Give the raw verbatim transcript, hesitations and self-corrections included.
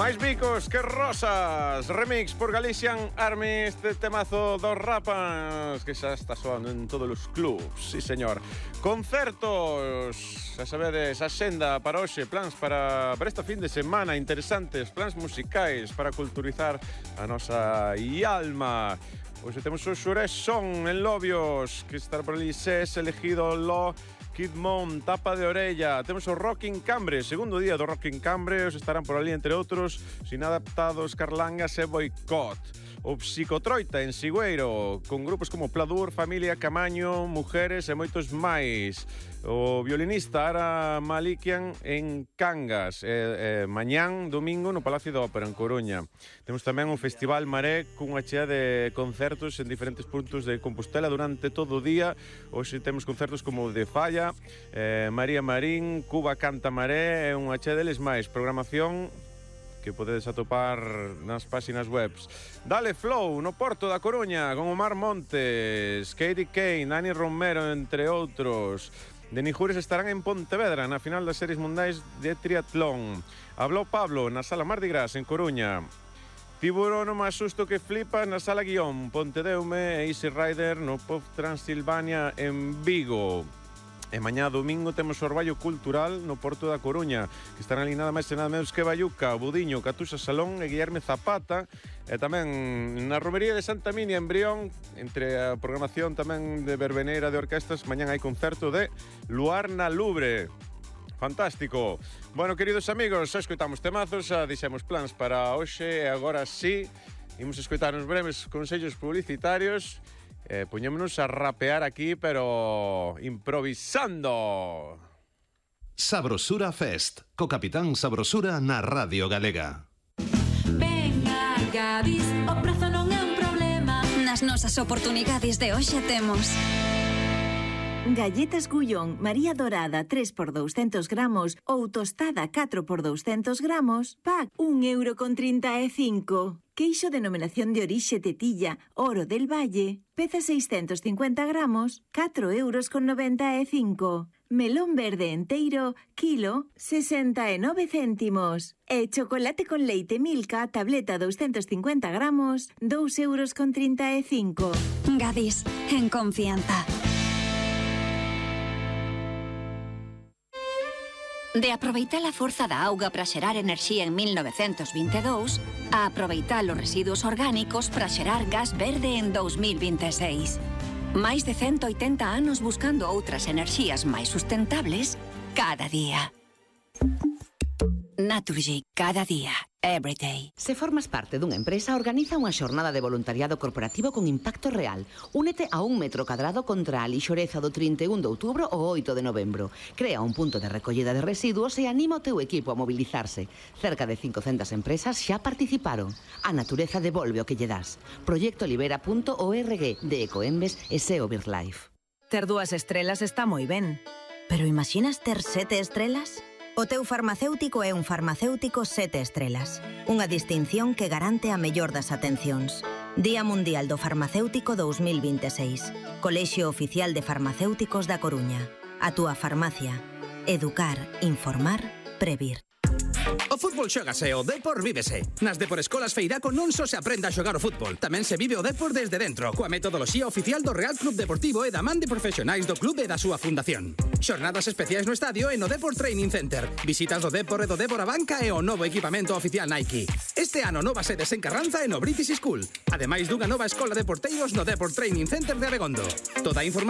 Máis bicos que rosas. Remix por Galician Army. Este temazo dos Rapas que xa está soando en todos os clubs. Sí, señor. Concertos. Xa sabedes, axenda para hoxe. Plans para, para esta fin de semana interesantes. Plans musicais para culturizar a nosa alma. Hoxe temos o Xurés Son en Lobios, que está por ali ses elegido lo Kid Mon, Tapa de Orella. Temos o Rocking Cambre, segundo día do Rocking Cambre. Os estarán por ali, entre outros, Sin Adaptados, Carlangas e Boicot. O Psicotroita en Sigüeiro, con grupos como Pladur, Familia, Camaño, Mujeres e moitos máis. O violinista Ara Malikian en Cangas. E, e, mañán, domingo, no Palacio da Ópera, en Coruña. Temos tamén o Festival Maré, cunha chea de concertos en diferentes puntos de Compostela durante todo o día. Hoxe temos concertos como o de Falla, eh, María Marín, Cuba Canta Maré e unha chea deles máis. Programación que podedes atopar nas páxinas webs. Dale Flow no Porto da Coruña con Omar Montes, Katie Kane, Dani Romero, entre outros. De Nijures estarán en Pontevedra na final das series mundiais de triatlón. Hablou Pablo na Sala Mardi Gras en Coruña. Tiburón o máis susto que flipa na Sala Guión. Pontedeume e Easy Rider no Pop Transilvania en Vigo. E mañá domingo temos o Orballo Cultural no Porto da Coruña, que estarán ali nada máis e nada menos que Bayuca, Budiño, Catusa Salón e Guillerme Zapata. E tamén na Romería de Santa Minia en Brión, entre a programación tamén de verbeneira de orquestas, mañán hai concerto de Luar na Lubre. Fantástico. Bueno, queridos amigos, xa escoitamos temazos, xa dixemos plans para hoxe e agora sí, imos escoitar uns breves consellos publicitarios. Eh, poñémonos a rapear aquí, pero improvisando. Sabrosura Fest, co Capitán Sabrosura na Radio Galega. Venga, Gadis, o prazo non é un problema. Nas nosas oportunidades de hoxe temos galletas Gullón, María Dorada tres por douscentos gramos ou tostada catro por douscentos gramos, pack un euro con trinta e cinco. Queixo denominación de orixe Tetilla, Oro del Valle, peza seiscentos cincuenta gramos, catro euros con noventa e cinco. Melón verde enteiro, kilo, sesenta e nove céntimos. E chocolate con leite Milka, tableta doscientos cincuenta gramos, dous euros con trinta e cinco. Gadis, en confianza. De aproveitar a forza da auga para xerar enerxía en mil novecentos vinte e dous a aproveitar os residuos orgánicos para xerar gas verde en dous mil vinte e seis. Máis de ciento oitenta anos buscando outras enerxías máis sustentables cada día. Naturgy, cada día, every day. Se formas parte dunha empresa, organiza unha xornada de voluntariado corporativo con impacto real. Únete a un metro cadrado contra a lixoreza do trinta e un de outubro ao oito de novembro. Crea un punto de recollida de residuos e anima o teu equipo a mobilizarse. Cerca de cincocentas empresas xa participaron. A natureza devolve o que lle das. proyecto libera punto org de Ecoembes e S E O BirdLife. Ter dúas estrelas está moi ben, pero imaginas ter sete estrelas? O teu farmacéutico é un farmacéutico sete estrelas. Unha distinción que garante a mellor das atencións. Día Mundial do Farmacéutico dous mil vinte e seis. Colexio Oficial de Farmacéuticos da Coruña. A túa farmacia. Educar, informar, previr. O fútbol xógase, o Depor vívese. Nas Depor Escolas Feiraco non só se aprende a xogar o fútbol, tamén se vive o Depor desde dentro, coa metodoloxía oficial do Real Club Deportivo e da man de profesionais do club e da súa fundación. Xornadas especiais no estadio e no Depor Training Center. Visitas do Depor e do Débora Banca e o novo equipamento oficial Nike. Este ano nova sedes en Carranza e no British School. Ademais dunha nova escola de porteiros no Depor Training Center de Abegondo. Toda a información